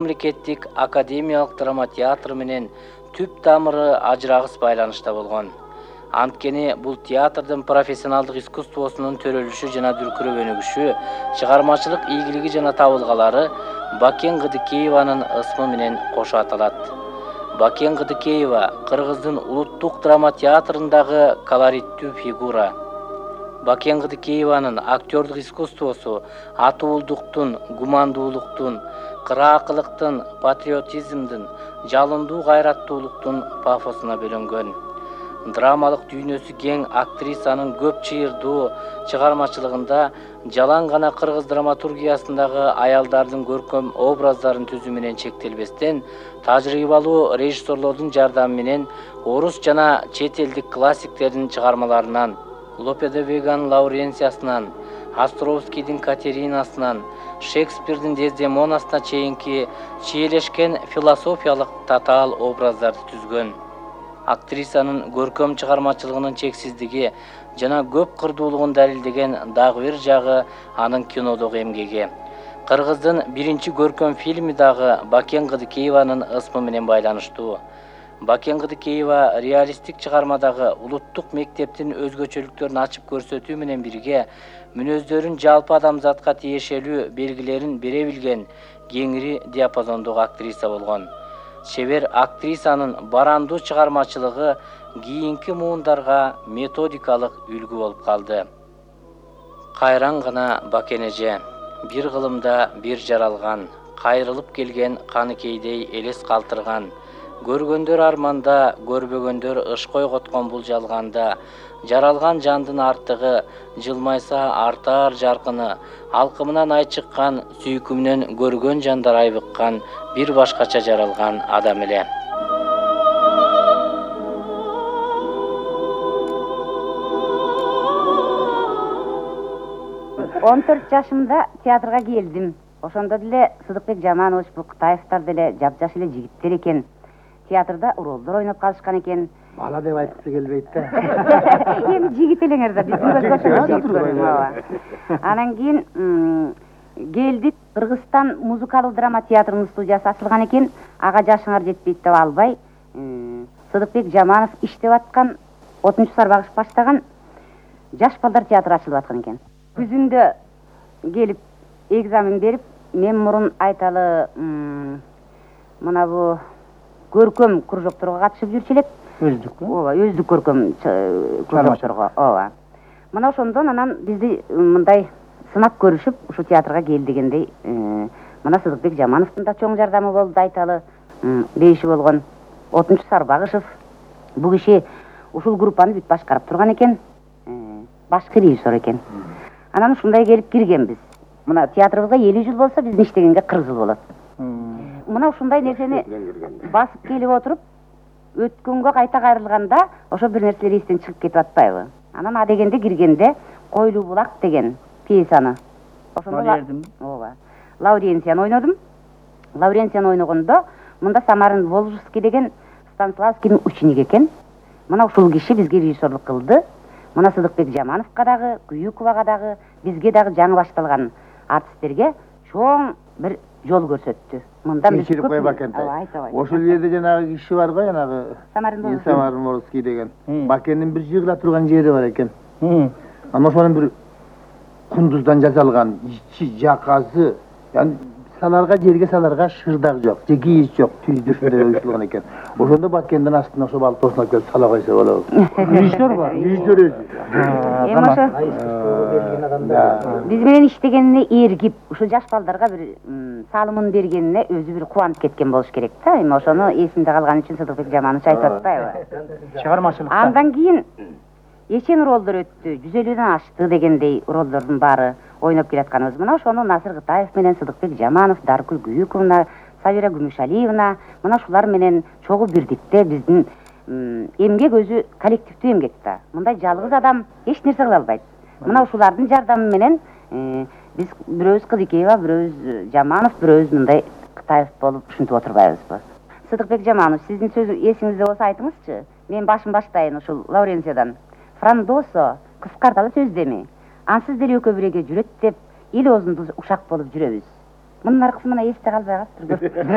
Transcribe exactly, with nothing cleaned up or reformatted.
мамлекеттик академиялык драма театры менен түп тамыры ажырагыс байланышта болгон. Анткени бул театрдын профессионалдык искусствосунун төрөлүшү жана дүркүрөп өнүгүшү, чыгармачылык ийгилиги жана табылгалары Бакен Кыдыкееванын ысмы менен кошо аталат. Бакен Кыдыкеева Кыргыздын улуттук драма театрындагы колориттүү фигура. Бакен Кыдыкееванын актёрдук искусствосу атуулдуктун, гумандуулуктун, кыраакылыктын, патриотизмдин, жалындуу кайраттуулуктун пафосуна бөлөнгөн. Драмалык дүйнөсү кең актрисанын көп чыйырдуу чыгармачылыгында жалаң гана кыргыз драматургиясындагы аялдардын көркөм образдарын түзүү менен чектелбестен, тажрыйбалуу режиссерлордун жардамы менен орус жана чет элдик классиктердин чыгармаларынан, Лопе де Веганын Лауренциясынан, Островскийдин Катеринасынан, Шекспирдин Дездемонасына чейинки чиелешкен философиялык татаал образдарды түзгөн. Актрисанын көркөм чыгармачылыгынын чексиздиги жана көп кырдуулугун далилдеген дагы бир жагы анын кинодогу эмгеги. Кыргыздын биринчи көркөм фильми дагы Бакен Кыдыкееванын ысмы менен байланыштуу. Бакен Кыдыкеева реалисттик чыгармадагы улуттук мектептин өзгөчөлүктөрүн ачып көрсөтүү менен бирге мүнөздөрүн жалпы адамзатка тиешелүү белгилерин бере билген кеңири диапазондогу актриса болгон. Чебер актрисанын барандуу чыгармачылыгы кийинки муундарга методикалык үлгү болуп калды. Кайран гана Бакен эже, бир кылымда бир жаралган, кайрылып келген каныкейдей элес калтырган, көргөндөр арманда, көрбөгөндөр ыш койготкон бул жалганда, жаралган жандын артыгы, жылмайса артаар жаркыны, алкымынан ай чыккан, сүйкүмүнөн көргөн жандар айбыккан, бир башкача жаралган адам эле. он төрт жашымда театрга келдим. Ошондо деле Сыдыкбек Жаманович, Букутаевтар деле жапжаш эле жигиттер экен. Театрда ролдор ойноп калышкан экен. Бала деп айткысы келбейт да. Эми жигит элеңер да, биздин көзгө жигит көрүнөт. Анан кийин келдик, Кыргызстан музыкалык драма театрынын студиясы ачылган экен. Ага жашыңар жетпейт деп албай, Сыдыкбек Жаманов иштеп аткан, отунчу сарбагыш баштаган жаш балдар театры ачылып аткан экен. Күзүндө келип экзамен берип, мен мурун айталы мына бу көркөм кружокторго катышып жүрчү элек. Өздүк, ооба, өздүк көркөм кружокторго, ооба. Мына ошондон анан бизди мындай сынап көрүшүп, ушу театрга кел дегендей, мына Сыдыкбек Жамановдун да чоң жардамы болду, айталы бейиши болгон. Отунчу Сарбагышев, бул киши ушул группаны бүт башкарып турган экен, башкы режиссер экен. Анан ушундай келип киргенбиз. Мына театрыбызга элүү жыл болсо, биздин иштегенге кырк жыл болот. Мына ушундай нерсени басып келип отуруп, өткөнгө кайта кайрылганда, ошо бир нерселер эстен чыгып кетип атпайбы? Анан а дегенде киргенде Койлуу булак деген пьесаны. Ошондо ооба. Лауренцияны ойнодум. Лауренцияны ойногондо мында Самарын Волжский деген Станиславскийдин ученик экен. Мына ушул киши бизге режиссерлук кылды. Мына Сыдыкбек Жамановго дагы, Күйүковага дагы, бизге дагы жаңы башталган артисттерге чоң бир жол көрсөттү. Мындан биз кечирип кой Бакен. Ошол жерде жанагы киши бар го, жанагы Самарын Волжский деген. Бакендин бир жыгыла турган жери бар экен. Ана ошонун бир кундуздан жасалган ичи жакасы, яны саларга, жерге саларга шырдак жок, же кийиз жок, түздүрүндө уюштурулган экен. Ошондо Бакендин астына ошо балтосуна келип сала койсо болобу. Режиссер бар, режиссер өзү. Эми ошо биз менен иштегенине эргип, ушу жаш балдарга бир салымын бергенине өзү бир кубанып кеткен болуш керек да. Эми ошону эсимде калган үчүн Сыдыкбек Жаманович айтып атпайбы? Чыгармачылыкта. Андан кийин эчен ролдор өттү, жүз элүүдөн ашты дегендей ролдордун баары ойноп келатканыбыз. Мына ошону Насыр Кытаев менен Сыдыкбек Жаманов, Даркүл Күйүковна, Сабира Күмүшалиевна, мына ушулар менен чогуу бирдикте биздин эмгек өзү коллективдүү эмгек да. Мындай жалгыз адам эч нерсе кыла албайт. Мына ушулардын жардамы менен биз бирөөбүз Кыдыкеева, бирөөбүз Жаманов, бирөөбүз мындай Кытаев болуп ушинтип отурбайбызбы? Сыдыкбек Жаманов, сиздин сөз эсиңизде болсо айтыңызчы. Мен башын баштайын ушул Лауренциядан. Франдосо кыскарталы сөз деми. Ансыз деле экөө биреге жүрөт деп эл оозунда ушак болуп жүрөбүз. Мунун аркысы мына эсте калбай калыптыр.